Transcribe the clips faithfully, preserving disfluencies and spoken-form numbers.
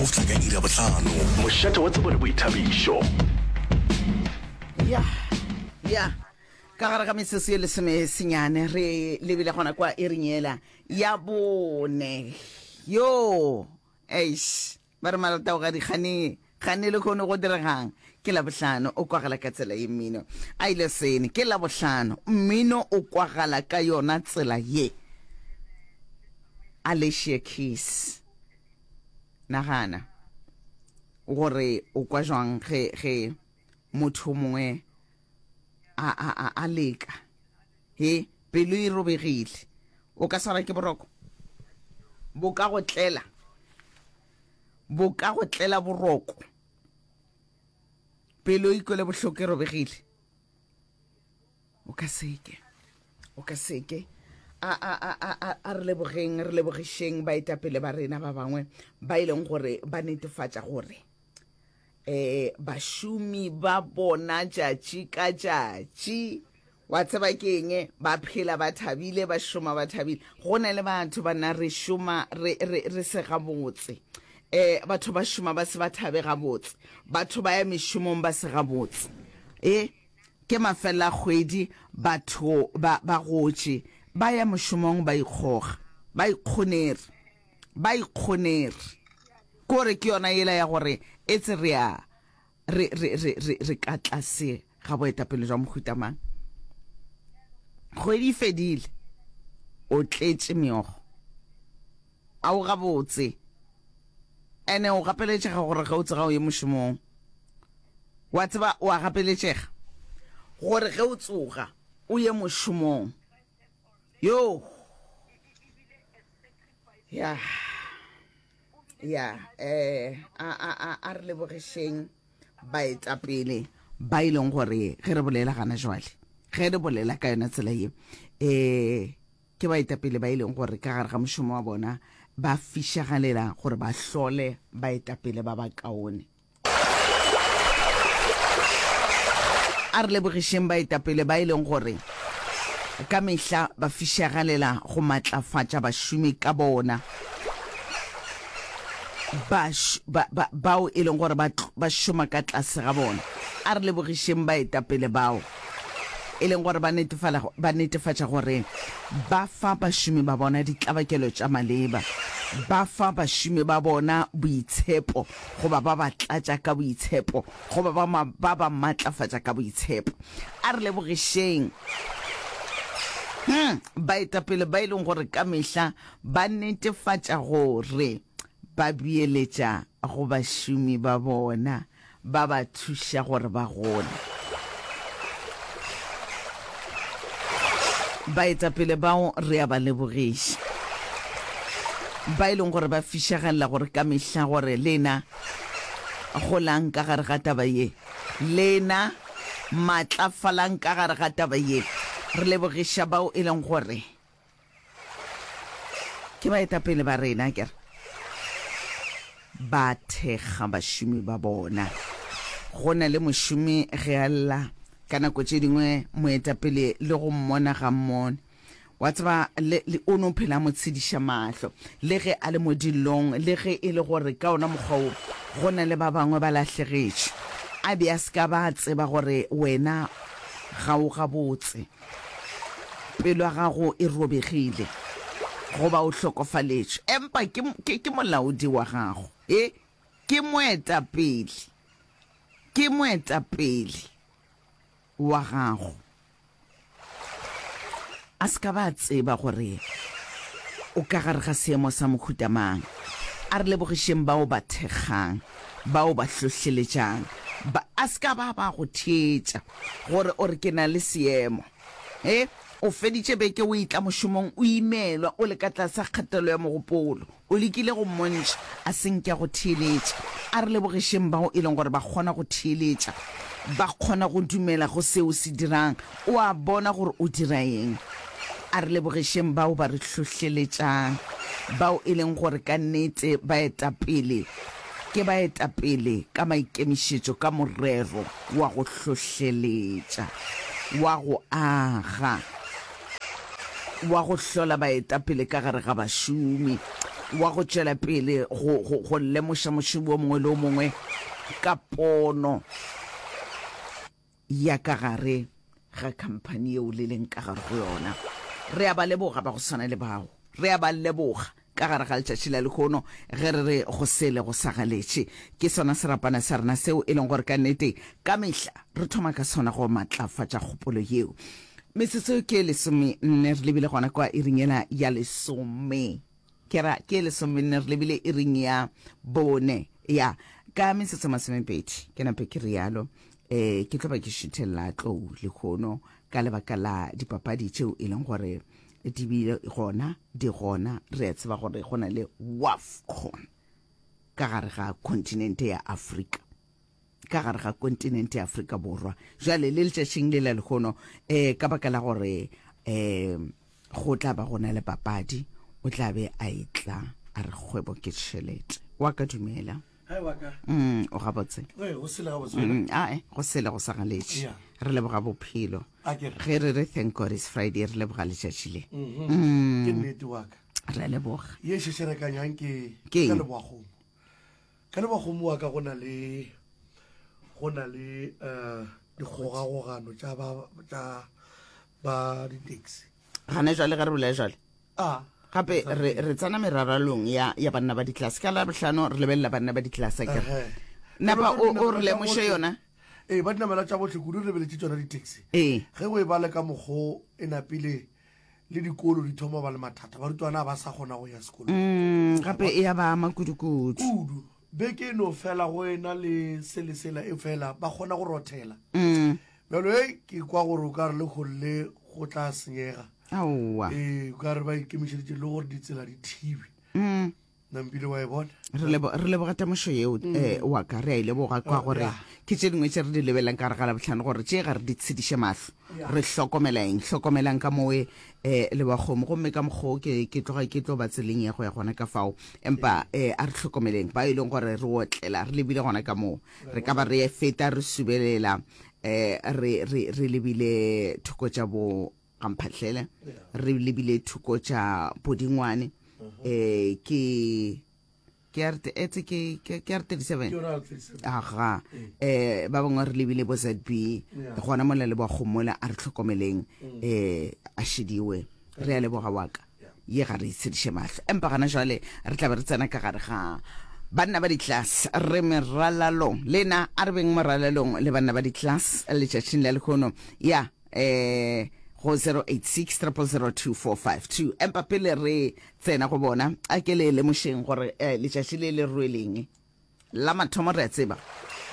fihla ka iri ya bohlano. Mošate wa tsebo le boithabišo. Ya, ya, ka gare ga metsotso ye lesome senyane re lebile gona kwa iring yela ya bone. Yo, eish, ba re maratao ga dikgane, gane le kgone go diregang. Ke Labohlano, o kwagala ka tsela ye mmino. A ile sene, ke Labohlano, mmino o kwagala ka yona tsela ye. Alicia Keys. Nagana gore o kwa jwang ge ge motho mongwe a a a a leka. He, pelo e robegile. O ka swara ke boroko. Bo ka go tlela. Bo ka go tlela boroko. Pelo e kwele bohloko e robegile. O ka seke. O ka seke. A a a a a a re lebogeng, re lebogišeng baetapele ba rena ba bangwe ba e leng gore ba netefatša gore eh bašomi ba bona tšatši ka tšatši wa tseba ke eng ba phela ba thabile ba šoma ba thabile. Go na le batho ba nna re šoma re re re se gabotse, eh batho ba šoma ba se ba thabe gabotse, batho ba ya mešomong ba se gabotse. E ke mafela kgwedi batho ba ba gotše ba ya mošomong ba ikgoga ba ikgonere ba ikgonere kore ke yona yela ya gore e tse re a re re re re re ka tlase ga boetapele jwa mohuta mang. Kgwedi e fedile o tletše meogo a o gabotse, ene o gapeletšega gore ge o tsoga o ye mošomong. Wa tseba o a gapeletšega gore ge o tsoga o ye mošomong. Yo, ya ya eh a a a a re lebogišeng baetapele ba e leng gore ge re bolela gana jwale, ge re bolela ka yona tsela ye, eh ke baetapele ba e leng gore ka gare ga mošomo wa bona ba fišagalela gore ba hlole baetapele ba ba kaone. A re lebogišeng baetapele ba e leng gore ka mehla ba fišagalela go matlafatša bašomi ka bona, ba, ba, ba, bao e leng gore ba, ba šoma ka tlase ga bona. A re lebogišeng baetapele bao e leng gore ba netefala, ba netefatša gore ba fa bašomi ba bona ditlabakelo tša maleba, ba fa bašomi ba bona boitshepo, goba ba ba tlatša ka boitshepo, goba ba ma, ba ba matlafatša ka boitshepo. A re lebogišeng hmm, baetapele ba e leng gore ka mehla ba netefatša gore ba beeletša go bašomi ba bona, ba ba thuša gore ba gole. Baetapele bao re a ba lebogiša, ba e leng gore ba fišagalela gore ka mehla gore lena golang ka gare ga taba ye, lena matlafalang ka gare ga taba ye. Re lebogiša bao e leng gore ke baetapele ba rena, ke re ba thekga bašomi ba bona. Go na le mošomi ge a lla ka nako tše dingwe moetapele le go mmona ga mmone, wa tseba le, le o no phela mo tshediša mahlo le ge a le mo dillong, le ge e le gore ka ona mokgwa wo go na le ba bangwe ba lahlegetšwe, a be a se ka ba tseba gore wena ga o gabotse, pelo ya gago e robegile goba o hlokofaletšwe, empa ke, ke, ke molaodi wa gago, e ke moetapele, ke moetapele wa gago. A se ka ba tseba gore o ka gare ga seemo sa mohuta mang. A re lebogišeng bao ba thekgang, bao ba hlohleletšang, ba a se ka ba ba go theetša gore o re ke na le seemo. E o feditše beke o etla mošomong o imelwa, o le ka tlase ga kgatelelo ya mogopolo, o lekile go mmontšha a se nke go theeletša. A re lebogišeng bao e leng gore ba kgona go theeletša, ba kgona go dumela go seo se dirang, o a bona gore o dira eng. A re lebogišeng bao ba re hlohleletšang, bao e leng gore ka nnete baetapele ke baetapele ka maikemišetšo, ka morero wa go hlohleletša, wa go aga. wa go hlola baetapele ka gare ga bašomi, wa go tšwela pele go, go, go lemoša mošomi o mongwe le o mongwe ka pono ya ka gare ga khamphani yeo le leng ka gare go yona. Re a ba leboga ba go swana le bao. Re a ba leboga ka gare ga letšatši la lehono ge re re go sele go sa galetše. Ke sona serapana sa rena seo e leng gore ka nnete ka mehla re thoma ka sona go matlafatša kgopolo yeo. Metsotso ke lesome nne re lebile gona kwa iring yela ya lesome. Ke ra ke lesome nne re lebile iring ya bone ya ka metsotso masomepedi ke nape ke rialo. Eh ke tlo ba ke šuthelela tlou lehono ka lebaka la dipapadi tšeo e leng gore di bile gona di gona. Re a tseba gore go na le WAFCON ka gare ga kontinente ya Afrika, ka gare ga kontinente ya Afrika Borwa. Jwale le letšatšing le la lehono eh ka baka la gore eh go tla ba gona le papadi, o tla be a etla a re kgwebo ke tšhelete. Wa ka dumela. Hai wa ka. Mm, o gabotse. Ee, go sele gabotse. Mm, ae, go sele go sa galetše. Yeah. Re leboga bophelo. A ke re. Ge re re thank God is Friday, re leboga letšatši le. Mhm. Ke nnete wa ka. Re a leboga. Ye šešerekanyang ke Ke ka eng? Leboa-kgomo. Ka Leboa-kgomo wa ka go na le go na le eh dikgogakgogano tša ba tša ba di-taxi. Gane jwale ge re bolela jwale. Ah. Gape re re tsena meraralong ya ya banna ba ditlelase. Ka Labohlano re lebelela banna ba ditlelase akere. Ehe. Napa o o re Ba lemoše bohle. yona? Ee, ba dinamela tša bohle kudu re lebeletše tšona di-taxi. Ee. Ge o e bale ka mokgo e napile le dikolo di thoma ba le mathata, barutwana ba sa kgona go ya sekolong. Mm, gape e ya ba ama kudu-kudu. Kudu. Beke e no fela go ena le se le sela e fela ba kgona go rothela. Mm. Bjalo e ke kwa gore o ka re le golle go tla senyega. Aowa. Ee, o ka re ba ikemišeditše le gore ditsela di thibe. Mm. Nampile wa e bona? Re lebo re leboga temošo yeo eh wa ka re a e leboga kwa gore Yeah. ke tše dingwe tše re di lebelelang ka gare ga Labohlano gore tše ga re di tshediše mahlo. Re hlokomela eng? Hlokomelang ka mowe eh Lebakgomo gomme ka mokgwa ke ke tloga ke tlo ba tseleng ya go ya gona ka fao. Empa eh a re hlokomeleng ba e leng gore re otlela re lebile gona ka moo. Re ka ba re feta re subelela eh re re re lebile thoko tša bo Gamphahlele, re lebile thoko tša Bodingwane. Eh ke ke R etse ke ke ke R thirty-seven. Ke yona R thirty-seven. Aga. Eh ba bangwe re lebile bo Z B. Gona mola le bo Kgomola a re hlokomeleng eh a šidiwe. Re a leboga wa ka. Ye ga re itshediše mahlo. Empa gana jwale re tla be re tsena ka gare ga banna ba ditlelase re meralalong. Lena a re beng moralalong le banna ba ditlelase letšatšing la lehono. Ya eh go zero eight six triple zero two four five two. Empa pele re tsena go bona a ke le lemošeng gore eh, letšatši le le rweleng la mathomo re a tseba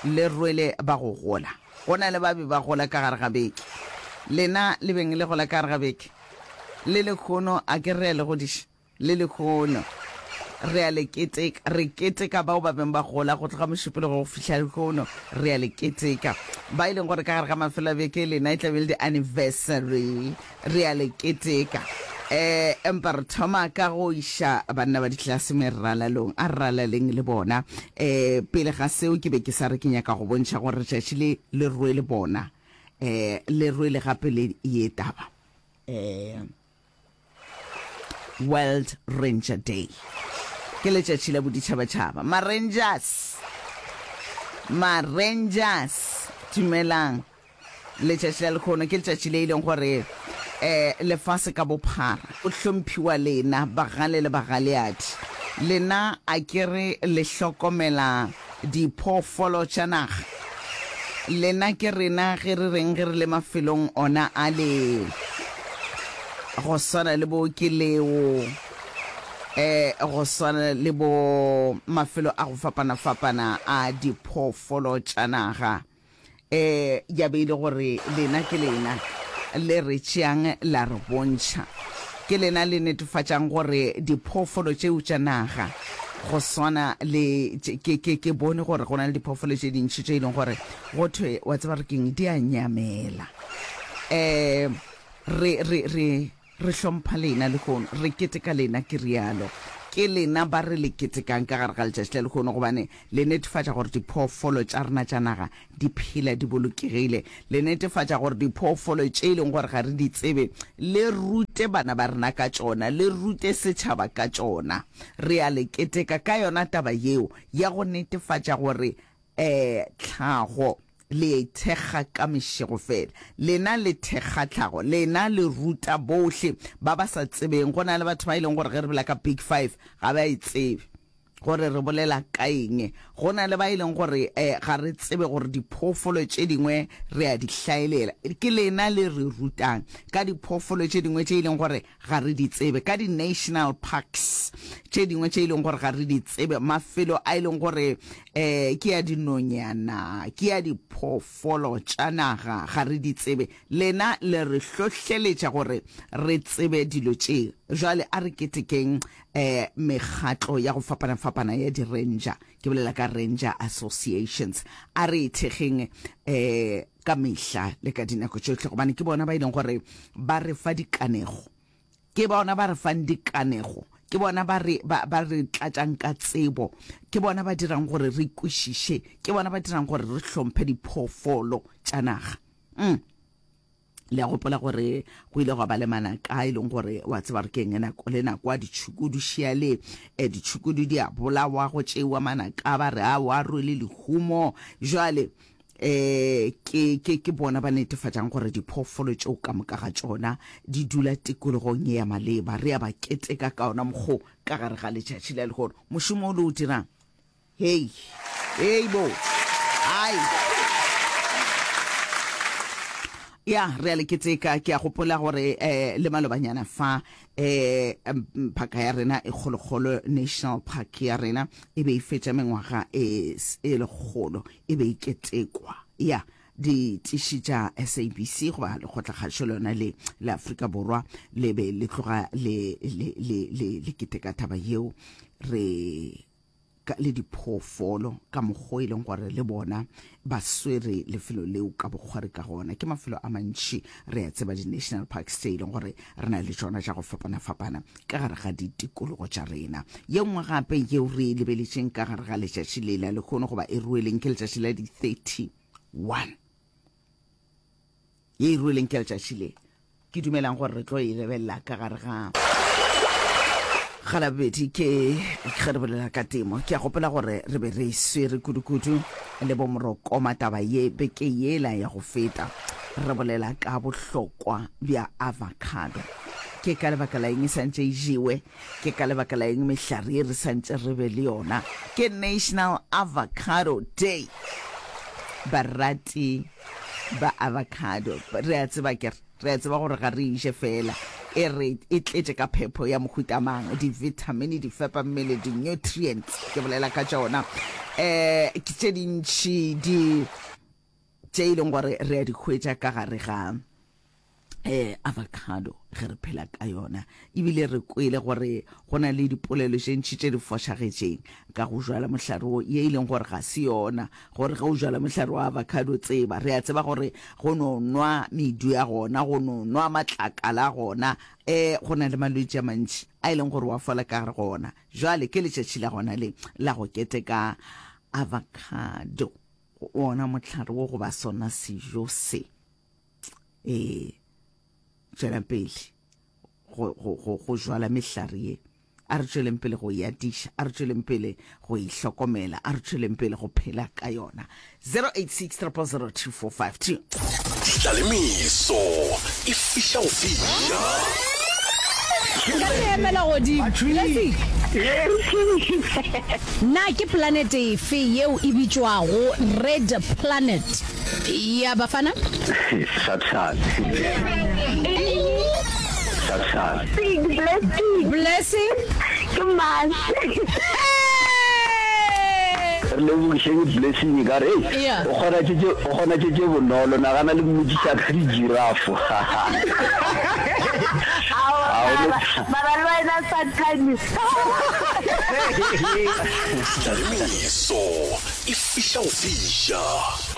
le rwele ba go gola. Go na le ba be ba gola ka gare ga beke. Lena le beng le gola ka gare ga beke. Le lekgono a ke re a le godiša. Le lekgono re a le keteka, re keteka bao ba beng ba gola go tloga mošupologo go fihla lekgono, re a le keteka. Ba e leng gore ka gare ga mafelo a beke lena e tla be le di-anniversary, re a le keteka. Eh empa re thoma ka go iša banna ba ditlelase meralalong, a re ralaleng le bona. Eh pele ga seo ke be ke sa re ke nyaka go bontšha gore letšatši le le rwele bona. Eh le rwele gape le ye taba. Eh World Ranger Day. Ke letšatši la boditšhabatšhaba. Ma-Rangers. Ma-Rangers. Dumelang. Letšatši la lekgono ke letšatši le e leng gore eh lefase ka bophara o hlomphiwa lena bagale le bagaleadi. Lena a ke re le hlokomela diphoofolo tša naga. Lena ke rena ge re reng ge re le mafelong ona a le go swana le bo ke leo eh go swana le bo mafelo a go fapana-fapana a diphoofolo tša naga. Eh ya be ile gore lena ke lena le re tšeang la re bontšha. Ke lena le netefatšang gore diphoofolo tšeo tša naga go swana le ke ke ke bone gore go na le diphoofolo tše dintši tše e leng gore go thwe wa tseba re keng di a nyamela. Eh re re re re hlompha lena lehono, re keteka lena ke rialo. Ke lena ba re le ketekang ka gare ga letšatši la lehono gobane le netefatša gore diphoofolo tša rena tša naga di phela di bolokegile. Le netefatša gore diphoofolo tše e leng gore ga re di tsebe, le rute bana ba rena ka tšona, le rute setšhaba ka tšona. Re a le keteka ka yona taba yeo ya go netefatša gore um tlhago le e thekga ka mešego fela. Lena le thekga tlhago, lena le ruta bohle ba ba sa tsebeng. Go na le batho ba e leng gore ge re bolela ka Big Five ga ba e tsebe gore re bolela ka eng. Go na le ba e leng gore um ga re tsebe gore diphoofolo tše dingwe re a di hlaelela. Ke lena le re rutang ka diphoofolo tše dingwe tše e leng gore ga re di tsebe, ka di-national parks tše dingwe tše e leng gore ga re di tsebe, mafelo a e leng gore um ke ya dinonyana, ke ya diphoofolo tša naga, ga re di tsebe. Lena le re hlohleletša gore re tsebe dilo tše. Jwale a re ketekeng um mekgatlo ya go fapana-fapana ya di-ranger, ke bolela ka ranger associations. A re e thekgeng um ka mehla le ka dinako tšohle, gobane ke bona ba e leng gore ba re fa dikanego, ke bona ba re fang dikanego, ke bona ba re, ba, ba re tlatšang ka tsebo, ke bona ba dirang gore re kwešiše, ke bona ba dirang gore re hlomphe diphoofolo tša naga. Mm. Le a gopola gore go ile gwa ba le manaka e leng gore wa tseba re keng nako le nako a ditšhukudu šiale, eh, ditšhukudu di a bolawa, go tšeiwa manaka ba re a wa rwele lehumo. Jwale eh ke ke ke bona ba netefatšang gore diphoofolo tšeo ka moka ga tšona di dula tikologong ye ya maleba. Re a ba keteka ka ona mokgo ka gare ga letšatši la lehono. Mošomo o le o dirang, hei hei bo ai ya re a le keteka. Ke a gopola gore eh le malobanyana fa eh phaka ya rena e kgolokgolo, National Park ya rena e be e fetša mengwaga e e lekgolo e be e ketekwa. Ya ditiši tša S A B C goba lekgotlakgašo lona le la Afrika Borwa le be le tloga le le le le le keteka taba yeo re ka, le diphoofolo ka mokgwa e leng gore le bona ba swere lefelo leo ka bokgwari ka gona. Ke mafelo a mantši re a tseba di-national parks tse e leng gore re na le tšona tša go fapana-fapana ka gare ga ditikologo tša rena. Ye nngwe gape yeo re e lebeletšeng ka gare ga letšatši le la lehono goba e rueleng ke letšatši la di-thirty-one, ye e rueleng ke letšatši le ke dumelang gore re tlo e lebelela ka gare ga ga labobedi ke ge re bolela ka temo. Ke a gopola gore re be re swere kudu-kudu le bomorokoma taba ye beke yela ya go feta, re bolela ka bohlokwa bja avocado. Ke ka lebaka la eng e santše e jewe, ke ka lebaka la eng mehlare ye re santše re be le yona. Ke National Avocado Day. Barati ba avocado re a tseba ke re a tseba gore ga re e je fela, e re e tletše ka phepo ya mohuta mang, di-vitamin, di fepa mmele, di-nutrients ke bolela ka tšona, eh ke tše dintši di tše e leng gore re a di hwetša ka gare ga eh avocado ge re phela ka yona. Ebile re kwele gore go na le dipolelo tše ntši tše di fošagetšeng ka go jwala mohlare wo, ye e leng gore ga se yona, gore ge o jwala mohlare wa avocado tseba, re a tseba gore go no nwa medu ya gona, go no nwa matlakala a gona, eh go na le malwetši a mantši a e leng gore wa fola ka gare go ona. Jwale ke letšatši la gona le la go keteka avocado, ona mohlare wo goba sona sejo se. Eh tšwelang pele go, go, go, go jwala mehlare ye, a re tšweleng pele go e atiša, a re tšweleng pele go e hlokomela, a re tšweleng pele go phela ka yona. Zero eight six triple zero two four five two. Ditlalemeso e fiša go fiša. Ka se emela godimo. Blessing. Na ke planete efe yeo e bitšwago Red Planet? Ya Bafana? Sathane. Sathane. Blessing. Blessing. Ke Mars. Re lebogišeng Blessing ka re, Yeah. o kgona tše tše, o kgona tše tše bonolo, nagana le mmotšiša ka di-giraffe. Mara le wena Sathane. Tlalemeso e fiša go fiša.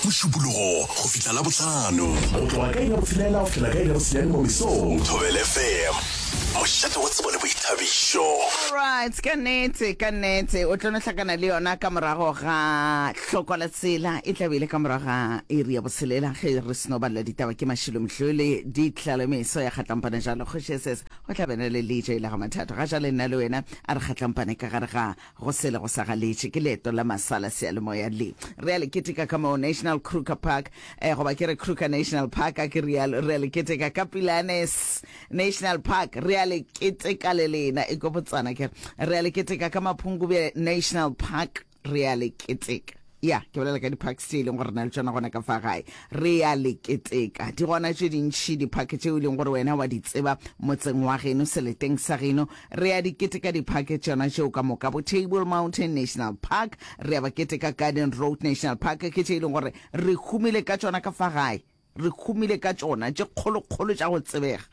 Mošupologo go fihla Labohlano. Go tloga ka iri ya botshelela go fihlela ka iri ya bosenyane mo mesong. Thobela F M. Mošate wa tsebo le boithabišo. Alright, ka nnete, ka nnete, o tlo no hlakana le yona ka morago ga hloko la tsela, e tla be e le ka morago ga iri ya botshelela ge re seno balela ditaba ke Mašilo Mhlole, ditlalemeso ya kgatlampana jalo kgoši S S o tla bena le L J la ga Mathato. Ga jale nna le wena a re kgatlampane ka gare ga go sele go sa galetše ke leeto la masala seyalemoya le re a le keteka ka mo National Kruger Park, eh, goba ke re Kruger National Park, a ke rialo, re a le keteka ka Pilanes National Park, re a le keteka le lena e ko Botswana, ke re a le keteka ka Mapungubwe National Park, re a le keteka. Ya ke bolela ka di-parks tše e leng gore re na le tšona gona ka fa gae, re a le keteka. Di gona tše dintšhi di-park tšeo e leng gore wena wa di tseba motseng wa geno, seleteng sa geno, re a di keteka di-park tšona tšeo ka moka. Bo Table Mountain National Park re a ba keteka, Garden Road National Park, ke tše e leng gore re humile ka tšona ka fa gae, re humile ka tšona tše kgolokgolo tša go tsebega.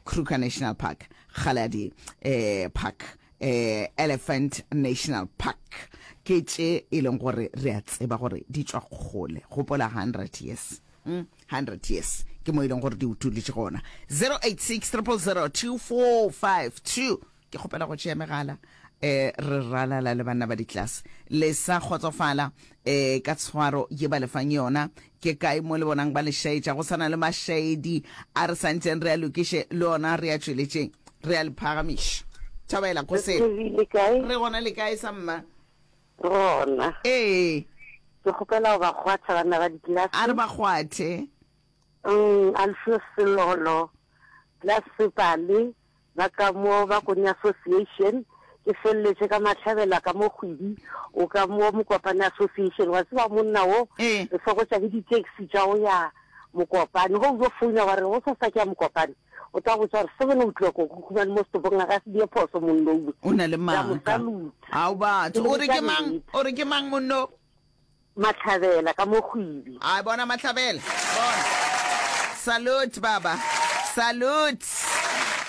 Kruger National Park, Kgaladi eh, Park, eh, Elephant National Park, ke tše e leng gore re a tseba gore di tšwa kgole. Gopola hundred years, mm, hundred years ke mo e leng gore di utulitše gona. zero eight six zero zero two four five two, ke kgopela go tšea megala. eh re ralala le banna ba ditlase, le sa kgotsofala eh ka tshwaro ye ba lefang yona? Ke kae mo le bonang ba le šaetša? Go sana le mašaedi a re santseng re a lokiše, le ona re a tšweletšeng, re a le phagamiša. Thabela go se. Le kae? Re gona, le kae sa mma? Gona. Ee. Ke kgopela go ba kgwatha banna ba ditlelase. A re ba kgwathe. um Alfio Selolo, Class Sepale, ba ka mo ba Kone Association, ke feleletše ka Mahlabela ka mo kgwedi o ka mo Mokopane Association. Wa tseba monna wo, ee re fokotša ke di-taxi tša go ya Mokopane. Go o founa wa re go sasa ke ya Mokopane, o tla botsa gore seven o'clock o khumane mo setopong, a ka se die phoso monno. O na le Ka mo maaka. salute. Ao batho, o re ke mang? O re ke mang monno? Mahlabela ka mo kgwedi. A bona Mahlabela, bona, salute baba, salute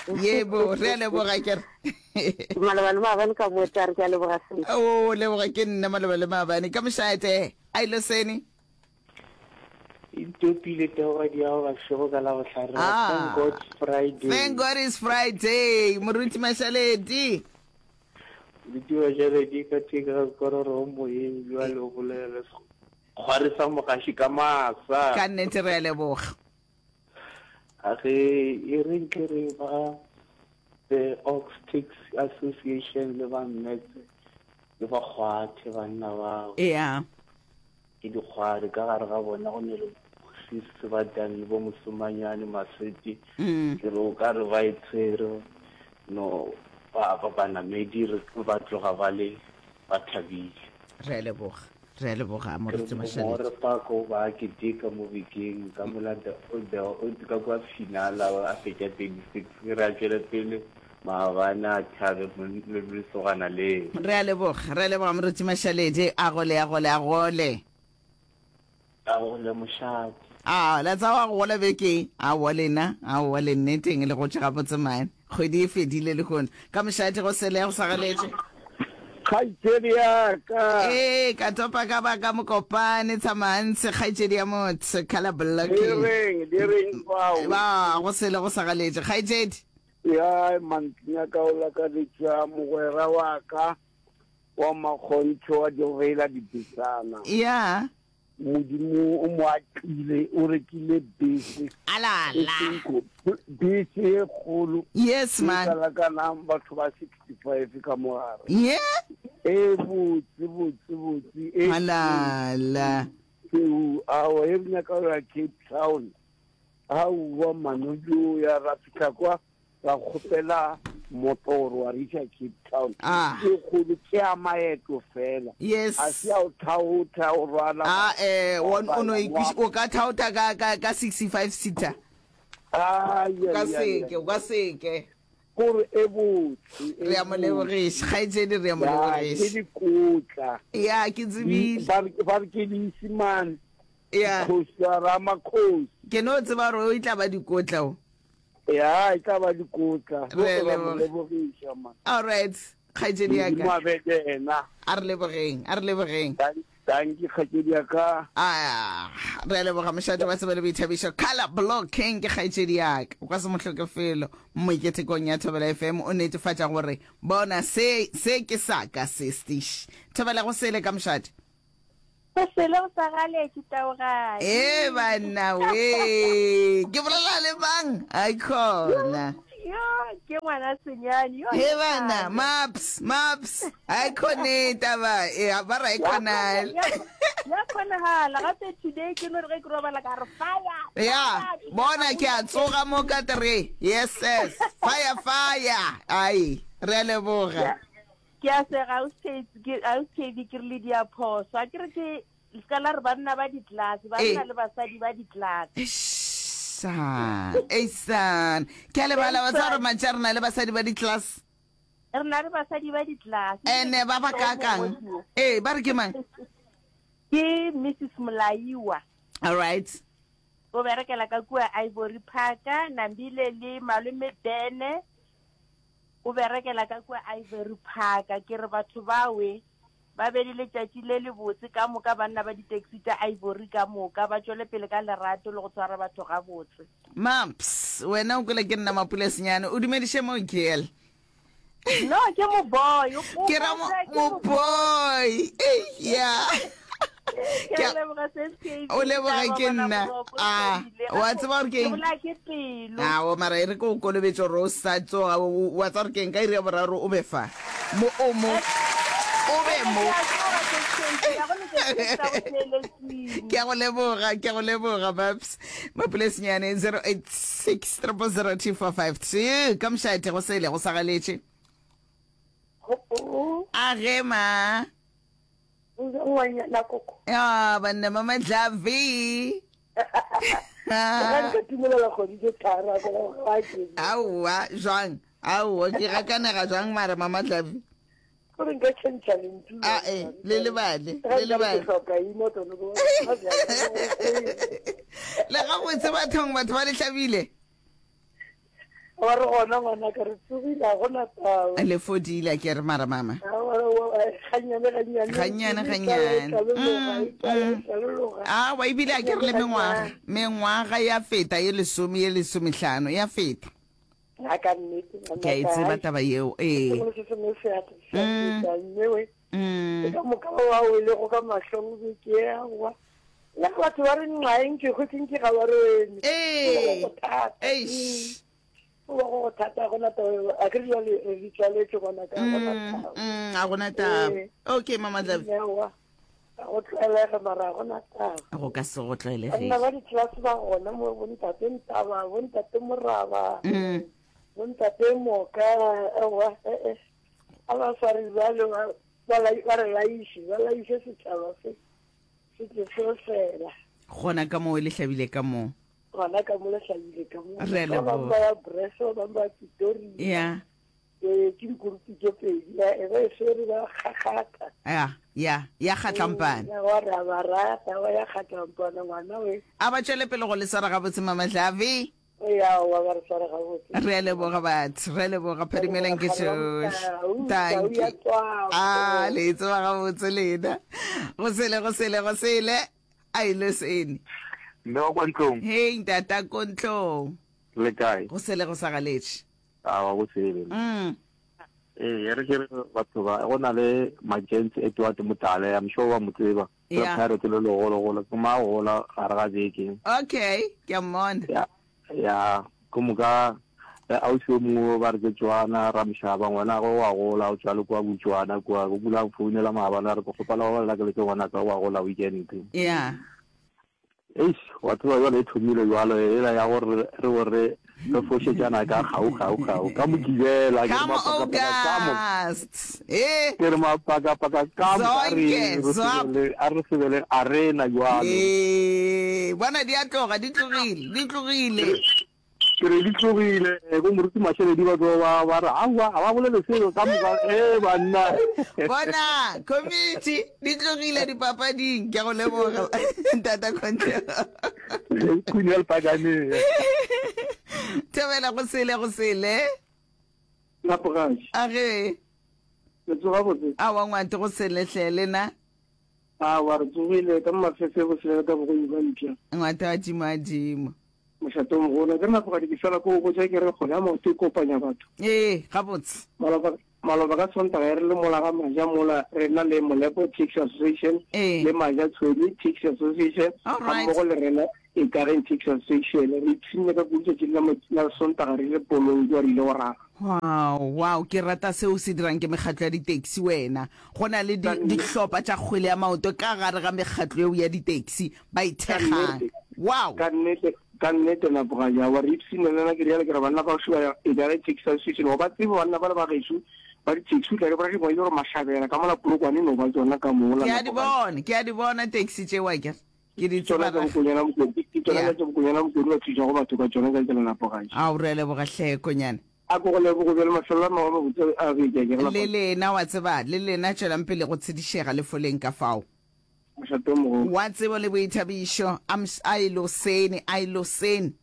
yebo, re a leboga kere. Maloba le maabane ka mo tare, ke a leboga sese. O leboga ke nna, maloba le maabane ka mošate a ile sene. Itopile togadi ya go bašego ka la bohlare. Ah. Thank God Friday. Thank God is Friday. Moruti Mashaledi. Moruti Mashaledi ka theka ga kororo moyeng jwale o bolela le kgware sa mogaši ka masa. Ka nnete re a leboga. A ge e re nke re ba the Ox Taxi Association le ba Mmetse le ba kgwathe banna bao. Ya. Ke dikgwari ka gare ga bona go ne le sisi ba tang le bo Mosomanyane Masweti. Mm. Ke re o ka re ba e tshwere no ba ba banamedi re ba tloga ba le ba thabile. Re a leboga, re a leboga Ke moruti re Mashaledi. More Pako ba keteka mo bekeng ka molata o o ka kwa finala a fetša thirty-six, re a tšwele pele maabane a thabe le lesogana leo. Re a leboga, re a leboga moruti Mashaledi, a gole, a gole, a gole. A gole mošate. A la tsa wa gola beke aowa lena, aowa le nneteng le gotše gabotse mane, kgwedi e fedile le kono ka mošate go sele go sa galetše. Kgaitsedi ya ka. Ee, ka topa ka ba ka Mokopane tshamantshe, kgaetšedi ya motho color Di blocking. reng, di reng fao? Ba go sele go sa galetše, kgaetšedi. Ya mantnya ka o lakaletša mogwera wa ka wa makgontho wa direila dibesana. Ya. Modimo o mo atlile, o rekile bese. E Alala. seng ko- bese e kgolo. Yes E man. ka lakanang batho ba sixty-five ka mogare. Ye. E botse botse botse e Alala. Seo awa e re nyaka go ya Cape Town, aowa manojo ya ra fihla kwa ra kgopela motoro wa re iša Cape Town. Ah. Ke kgolo, ke ya maeto fela. Yes. A se ya o thaotha o rwala. A eh o o no wa- ikwiš- o ka thaotha ka ka ka sixty-five seater. Ai, O ka ai, ai, seke, ai. o ka seke. Kore e botse e Re a mo botse. lebogiša kgaetšedi, re a mo Ya, ke lebogiša. dikotla. Ya ke Di- tsebile. ba re ba re ke Leisimane. Ya. Kgosi ya Ramakgosi. Ke no tseba gore o e tla ba dikotla o. Ya e tla ba dikotla. Re a Re a mo leboga. lebogiša man. All right, kgaetšedi ya Modimo ka. a be le yena. A re lebogeng, a re lebogeng. Thank- Tanki kgaetšedi ya ka. Ah, re a leboga mošate wa tsebo le boithabišo. Color Block King ke kgaetšedi ya ka. O ka se mo hloke felo. Moiketekong ya Thobela F M o netefatša gore bona se se ke sa ka se stish. Thobela go sele ka mošate. Go sele go sa galetše taogadi. E banna we. Ke bolela le mang? Ai khona. Yo, ke ngwana senyane. Yo, He bana, maps, maps. Ai khone taba. E ba ra e khonal. Ya kgonagala gape today ke no re ge ke robala ka re fire. Ya, bona ke a tsoga mo ka three. Yes, yes. Fire, fire. Ai, re a leboga. Ke a sega ausi ke re le diaphoso. A ke re ke se ka la re banna ba di-class, banna le basadi ba di-class. Eisan, eisan. Ke a lebala wa tseba gore mantši a re na le basadi ba di-class. Re na le basadi ba di-class. Ene ba ba kakang. Ee, ba re ke mang? Ke Missus Molaiwa. All right. O berekela ka kua Ivory Park, Nambile le malome Bene. O berekela ka kua Ivory Park. Ke re batho bawe ba be le letšatši le lebotse ka moka, banna ba di-taxi tša Ivory ka moka ba tšwele pele ka lerato le go tshwara batho gabotse. Maps, wena o kwele ke nna Mapule Senyane, o dumediše mo girl. No, ke mo boy. Ke ra mo mo boy. Ei ya. Ke a leboga S K B. O leboga ke nna. Ah, wa tseba gore ke eng? Ke bolaya ke pelo. Ao mara e re ke o kolobetše gore o sa tsoga wa tseba gore ke eng ka iri ya boraro o be fa. Mo o mo. O be mo. Ke a go leboga, ke a go leboga Maps. Mapule Senyane zero eight six triple zero two four five two. Ka mošate go sele go sa galetše. A ge ma. Ngwanyana koko. Ah, banna mama Dlavi. Ga nka tumelela kgwedi tse tharo a ko ga ke. Aowa, jwang? Aowa, ke gakanega jwang mara mama Dlavi? Gore nka change lentšu. A e, le lebale, le lebale. Ke hloka ino tono go. Le ga botse bathong batho ba le hlabile. Wa re gona ngwana ka re tsogile ga gona taba. Le fodile ke re mara mama. Ganyane ganyane. Ganyane ganyane. Mm, mm. Ah, wa ebile a ke re le mengwaga. Mengwaga ya feta ye lesome ye lesomehlano ya feta. A ka nnete. Ke a e tseba taba yeo. Ee. Sengwe se sengwe se a se a feta mme we. Mm. Ka moka ba ba welego ka mahlong beke aowa. Le batho ba re nqaeng ke go ke ga ba re wene. Ee. Go thata. Eish. Go ba go thata gona taba a ke jale re di tswaletse gona ka gona taba. Mm, a gona taba. Ee. Okay mama Dlavi. Aowa. Ga go tlwaelege mara ga gona taba. Go ka se go Banna tlwaelege. ba di-class ba gona mo bontate Ntaba, bontate Moraba, Mm. bontate Moka, aowa eh eh. A ba sware jalo ba ba lai- ba re laiše, ba laiše setšhaba se se tle se fela. Gona ka moo le hlabile ka moo. Gona ka mo le hlabile ka mo. Re a Ba bangwe leboga. ba ya Breso, ba bangwe ba ya Pretoria. Ya. Ee, ke dikurupi tše pedi, ya e ba e swere ba kgakgatha. Ya, ya, ya kgatlampana. Ya wa re a ba rata, wa ya kgatlampana ngwana we. A ba tšwele pele go le swara gabotse mama Dlavi. Ya wa ba re sware gabotse. Re a leboga batho, re a leboga phadimelang ke tšohle. Tau, Thank tau ya you. tswako. Ah, le tseba gabotse lena. Go sele, go sele, go sele. A ile sene. Mme wa kwa ntlong. Hey, ntata ko ntlong. Le kae? Go sele go sa galetše. A wa go sele. Mm. Ee, re ke re batho ba go na le Mackenzie Edward Motale, I'm sure wa mo tseba. Ke Yeah. Pirate le legologolo, ke ma gola gare ga beke. Okay, ke a mmona. Ya ya, ke moka le ausi o mongwe ba re ke Tswana Ramshaba, ngwana gagwe wa gola o tswa le kwa Botswana kwa, o kula founela maabane a re ke kgopela go bolela ke le ke ngwanaka wa gola weekend. Yeah. Eish, wa tseba jwale e thomile jwalo ela ya gore re bo re re fošetšana ka gau gau gau ka Mokibela ke re Come mapakapaka ka mo August. Eh. ke re mapakapaka ka mo a re Zonke, re zwap. sebele a re sebele arena jwalo. Eh, bona di a tloga, di tlogile, di tlogile. Ke re di tlogile bo moruti Masheledi ba tlo ba ba re aowa ga ba bolele selo ka moka eh banna. Bona, committee di tlogile dipapading. Ke a go leboga ntata Conte. Queen ya lepakane. Thobela go sele go sele. Napogaši. A ge. Le tsoga botse. A wa ngwante go sele hle lena. Aowa, re tsogile ka mafefe boselela ka bogoyi ba mpša. Ngwata wa tšimo a dimo. Mošate o mogolo. Ke re Napogadi ke fela ko go botša ke re kgole ya maoto e kopanya batho. Ee, gabotse. Maloba, maloba ka Sontaga e re le mola ga Maja mola re na le Molepo Taxi Association Ee. le Maja Tshwedi Taxi Association All ga right. mmogo le rena Ikageng Taxi Association. Re ipshinne ka kudu tšatši la, la Sontaga re ile polong kua re ile go raga. Wow, wow, ke rata seo se dirang ke mekgatlo ya di-taxi wena. Go na le di, Ka nnete. dihlopha tša kgwele ya maoto ka gare ga mekgatlo yeo ya di-taxi ba Ka ithekgang. nnete, Wow. ka nnete, ka nnete Napogadi, aowa re ipshinne le nna ke realo ke re banna ba gešo ba Ikageng Taxi Association wa ba tsebe banna bale ba gešo ba di-taxi o tla di bona di ngwadilwe gore Mashabela ka mola Polokwane e no ba tšona ka mola Ke a di Napogadi. bona, ke a di bona taxi tšeo akere. Ke di Ke tšona tseba tša ra. Bokonyana Mokodi, ke tšona Yeah. tša Bokonyana Mokodi ba thušago batho ka tšona tša tsela Napogadi. Ao, re a leboga hle Konyana. A ko go leboge bjale mafelelo a mangwe a mabotse a beke a ke re Le Napogadi. lena wa tseba, le lena tšwelang pele go tshedišega le foleng ka fao. Mošate o mogolo. Wa tsebo le boithabišo, a ms, a e losene, a e losene.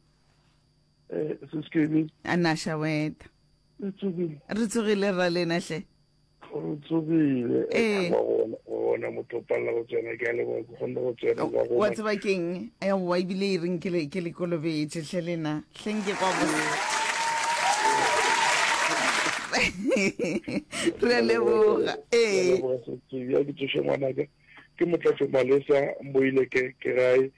Eh, Sis Kevin. A na šaweta. Re tsogile. Re tsogile rra lena hle. Re tsogile. Ee. Wa bona, wa bona motho o palela go tsena, ke a leboga ke kgonne go tsena kwa go Wa tseba keng? Aowa ebile e reng ke le ke le kolobetše hle lena. Hleng ke kwa bose. Re a leboga. Ee. Leboga Sis Kevin. Ya ke tsoše ngwanaka. Ke Motlatšo Malesa Mboile ke ke gae.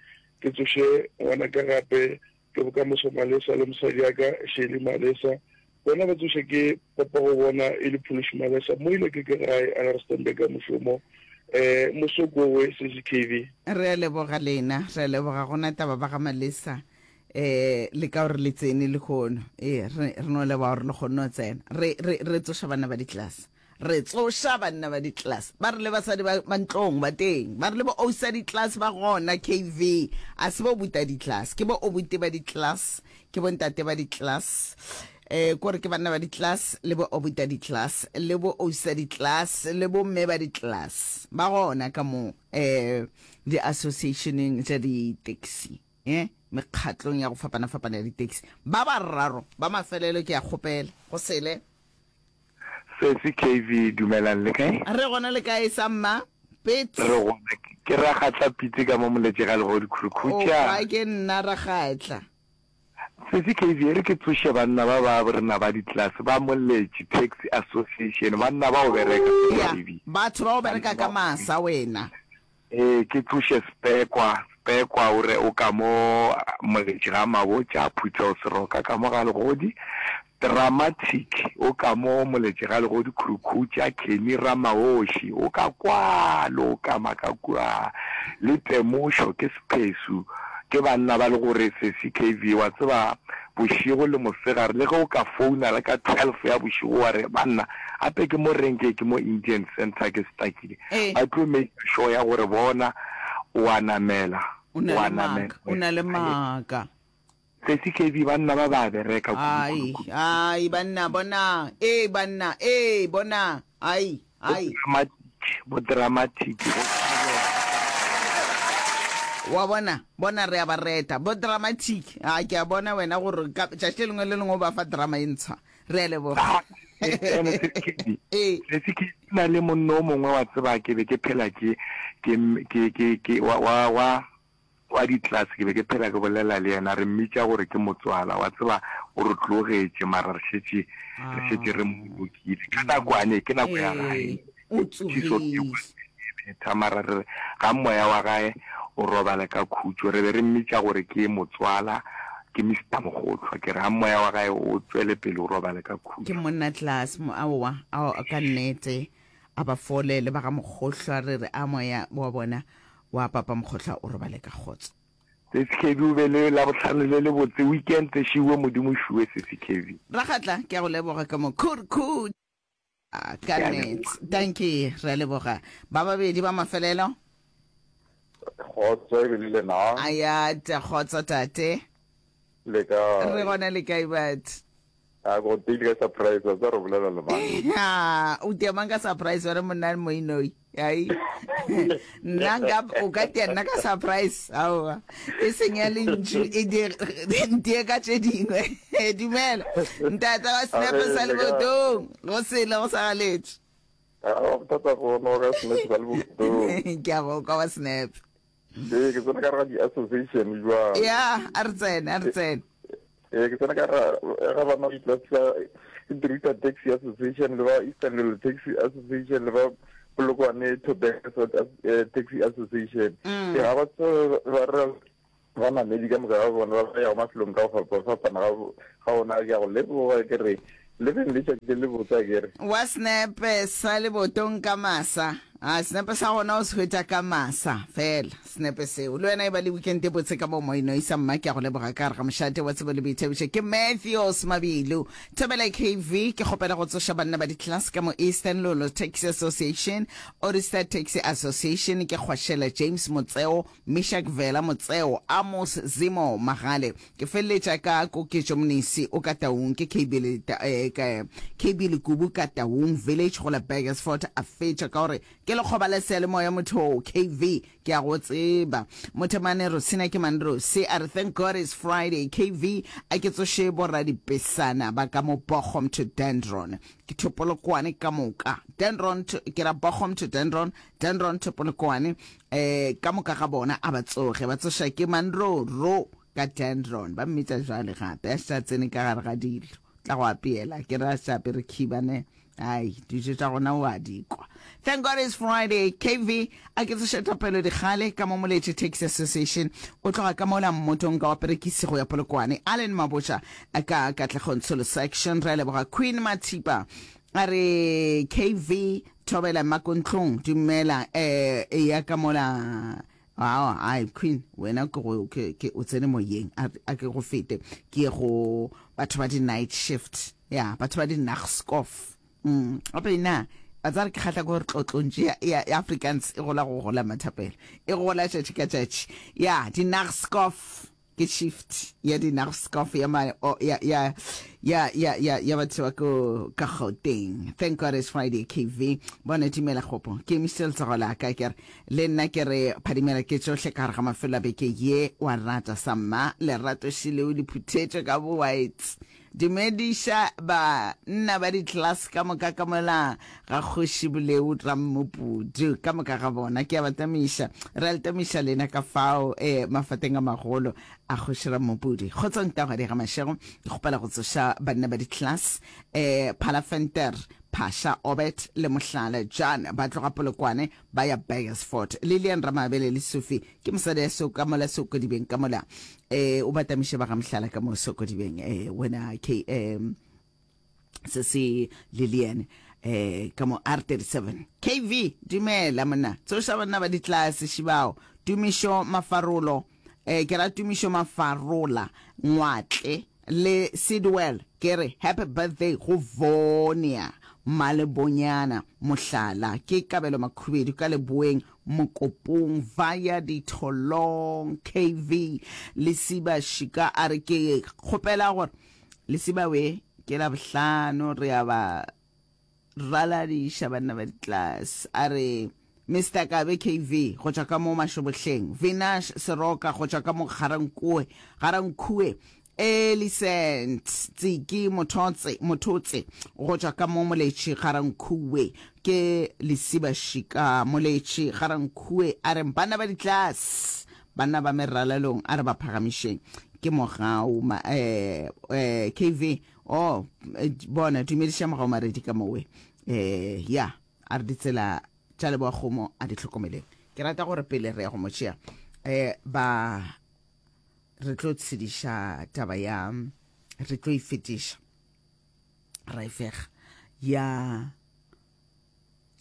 Ke tsoše ngwanaka gape ke Bokamoso Malesa le mosadi ya ka Shelly Malesa. Bona ba tsoše ke papa go bona e le Phološi Malesa Moile ke ke gae a le Rustenburg ka mošomo. Eh, Mosokowe C C K V. Re a leboga lena, re a leboga gona taba ba ga Malesa. Eh, le ka gore le tsene lehono. Eh, re, re no leboga gore le kgonne go tsena. Re, re, re tsoša banna ba di-class. Re tsoša banna ba di-class. Ba re le basadi ba, ba ntlong ba teng. Ba re le bo ausi di-class ba gona K V. A se bo buta di-class, ke bo obuti ba di-class, ke bo ntate ba di-class. Eh, kore ke banna ba di-class le bo obuta di-class le bo ausi di-class le bo mme ba di-class. Ba gona ka mo eh di-associationeng tša di-taxi. Eh, mekgatlong ya go fapana-fapana ya di-taxi. Ba bararo ba mafelelo ke a kgopela go sele. Sesi K V, dumelang le kae? Re gona le kae sa mma? Pets. Re gona, ke Ragatla Pitse ka mo Moletše ga Legodi Khurukhutša. O kwa ke nna Ragatla. Sesi K V, e re ke tsoše banna ba ba rena ba di-class ba Moletše Taxi Association, banna ba go bereka, Sesi Ya, K V. batho ba go bereka ka masa wena. Ee, ke tsoše Spekwa, Spekwa o re o ka mo Moletše ga Mabotja, Phuthego Seroka ka mo ga Legodi. Dramatic o ka mo Moletše ga Legodi Khurukhutša, Kenny Ramaoši o ka kwalo o ka maka kua, le Temošo ke Sephesu, ke banna ba le gore Sesi K V wa tseba bošego le mosegare le ge o ka founa le ka twelve ya bošego wa re banna gape ke mo renke ke mo Indian Centre ke stakile Ee. ba tlo make sure ya gore bona o a namela O na o a le namela maaka, o na le maaka. Sesi K V, banna ba ba bereka kudu, Ai, kudu, kudu. ai, banna, bona, ee, banna, ee, bona, ai, ai. Bo dramatic, bo dramatic, bo Wa bona, bona re a ba reta. Bo dramatic, a ke a bona wena gore ka tšatši le lengwe le lengwe o ba fa drama e ntshwa. Re a leboga. Ah, ene Sesi K V, Ee. Sesi K V, na le monna o mongwe wa tseba ke be ke phela ke, ke, ke, ke, ke, wa, wa, wa, wa di-class, ke be ke phela ke bolela le yena, re mmitša gore ke motswala, wa tseba o re tlogetše mara re šetše, re šetše re mo bolokile. Ka nakwane, ke nako ya gae, Ee, o tšhiso ke tsogile. betha, mara re re ga moya wa gae o robale ka khutšo. Re be re mmitša gore ke motswala, ke Mister Mogotlwa, ke re ga moya wa gae o tšwele pele o robale ka Ke khutšo. monna class, mo, aowa, ao, ka nnete, a ba fole le ba ga Mogotlwa, re re a moya wa bona wa Papa Mogotlwa o robale ka kgotso. Sesi K V o be le Labohlano le lebotse, weekend šiwe Modimo šiwe Sesi K V. Ragatla, ke a go leboga ka mo khurkhutša ka Ke a nnete. leboga. Dankie, re a leboga. Ba babedi ba mafelelo. Kgotso e be le lena. Ayata, kgotso tate. Le kae? Re gona le kae batho? A go teile ka surprise, wa tsa re bolela le mang? Ha, o tia mang ka surprise wena monna Moinoi? Ai. Nna nka o ka tia nna ka surprise. Aowa. E seng ya lentšu e di ntie ka tše dingwe. Dumela. Ntate wa senepe sa Ahee, le kae? lebotong. Go sele go sa galetše. A bothata gona o ka snap sa le botong. Ke a go kwa wa snap. Ee, ke tsena ka gare ga di-association jwang. Ya, a re tsene, a re tsene. Ee, ke tsena ka gare ga bana ba Itlatsa Druta Taxi Association le ba Eastern Lolo Taxi Association le ba Polokwane Tobacco eh, Taxi Association. Mm. Ee, ga ba tsebe ba re ba namedi ka moka ga bona ba ba yago mafelong ka go fapafapana ga ga ona ke a go leboga ke re le beng letšatši le le botse a ke re. Wa senepe sa lebotong ka masa. A senepe sa gona o se hwetša ka masa fela senepe seo. Le wena e ba le weekend e botse ka mo moinoisa mma ke a go leboga ka gare ga mošate wa tsebo le boithabišo ke Matthews Mabilu. Thobela K V ke kgopela go tsoša banna ba di-class ka mo Eastern Lolo Taxi Association, Oristar Taxi Association ke Kgwašela James Motseo, Meshack Vela Motseo, Amos Zimo Magale. Ke feleletša ka Koketšo Mnisi o ka Taung ke K B le, eh, ka, K B Lekubu ka Taung Village go la Burgersfort a fetša ka gore ke lekgoba la seyalemoya motho K V ke a go tseba. Mothemane Rosina ke Mandrosi a re thank God it's Friday K V a ke tsoše boradipesana ba ka mo Bochum to Dendron ke to Polokwane ka moka Dendron to, ke ra Bochum to Dendron Dendron to Polokwane eh ka moka ga bona a ba tsoge ba tsoša ke Mandroro ka Dendron ba mmitša jwale gape a sa tsene ka gare ga dilo tla go apeela ke ra sa apere khibane ai dijo tša gona o a di kwa. Thank God it's Friday K V a ke tsoše thapelo dikgale ka mo Moletše Taxi Association o tloga ka mola mmotong ka wa perekisi go ya Polokwane Allen Mabotja ka Katlego Ntsholo section re a leboga Queen Mathipa a re K V thobela makontlong dumela eh ya ka mola Ao, ai Queen wena ke go ke ke o tsene moyeng a a ke go fete ke ye go batho ba di night shift ya batho ba di nachtskof mm gape na a tsare ke kgahla ke gore tlotlontši ya, ya, ya Afrikaans e gola go gola mathapelo e gola tšatši ka tšatši ya di nachtskof ke shift ya di nachtskof ya ma, o, ya ya ya ya ya ya batho ba ko ka Gauteng. Thank God it's Friday K V bona dumela kgopo ke emišitše letsogo la ka ke re le nna ke re phadimela ke tšohle ka gare ga mafelo a beke ye wa rata sa mma lerato šileo le phuthetšwe ka bo whites dumediša ba nna ba di-class ka moka ka mola ga kgoši Boleu Rammopudu ka moka ga bona ke a ba tamiša re a le tamiša lena ka fao eh, mafateng a magolo a kgoši Rammopudu kgotsong tagwadi ga mašego ke kgopela go tsoša banna ba di-class eh, Phalafenter Phasha Obert le Mohlala Jan ba tloga Polokwane ba ya Burgersfort Lilian Ramabele le Sophie ke mosadi ya so ka mola Sokodibeng ka mola eh o batamiše ba ga Mohlala ka mo Sokodibeng eh wena K eh, se se Lilian eh ka mo R thirty-seven K V dumela monna tsoša banna ba ditlase šibao Tumišo Mafarolo eh ke ra Tumišo Mafarola Ngwatle le Sidwell ke re happy birthday go Vonia Malebonyana Mohlala ke Kabelo Makhubedu ka Leboeng Mokopong via Ditholong K V Lesiba Shika a re ke kgopela gore Lesiba we ke la bohlano re a ba raladiša banna ba ditlase a re Mister Kabe K V go tšwa ka mo Mašobohleng Vinash Seroka go tšwa ka mo Garankue Garankue Elisent Tsiki Mothotse Mothotse go tšwa ka mo Moletši Garankue ke Lesiba Shika Moletši Garankue a re banna ba ditlase banna ba meralelong a re ba phagamišeng ke mogau ma, eh, eh, K V oh eh, bona dumediša mogau Maredi ka mowe eh, ya a re ditsela tša leboa kgomo a di hlokomeleng ke rata gore pele re ya go mo tšea eh, ba re tlo tshediša taba ya re tlo e fetiša ra e fega ya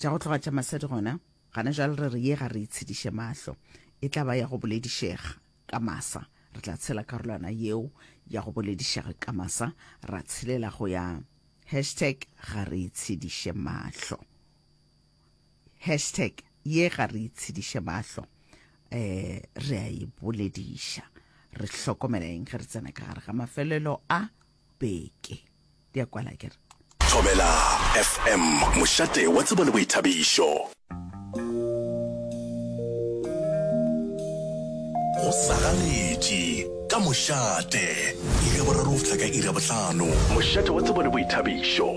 tša go tloga tša masadi gona gana jwale re re ye ga re itshediše mahlo e tla ba ya go boledišega ka masa re tla tshela karolwana yeo ya go boledišega ka masa ra tshelela go ya hashtag ga re itshediše mahlo hashtag ye ga re itshediše mahlo eh re a e bolediša re hlokomela eng ge re tsena ka gare ga mafelelo a beke di a kwala ke re Thobela F M mošate wa tsebo le boithabišo. Go sagaletše ka mošate iri ya boraro go fihla ka iri ya bohlano. Mošate wa tsebo le boithabišo.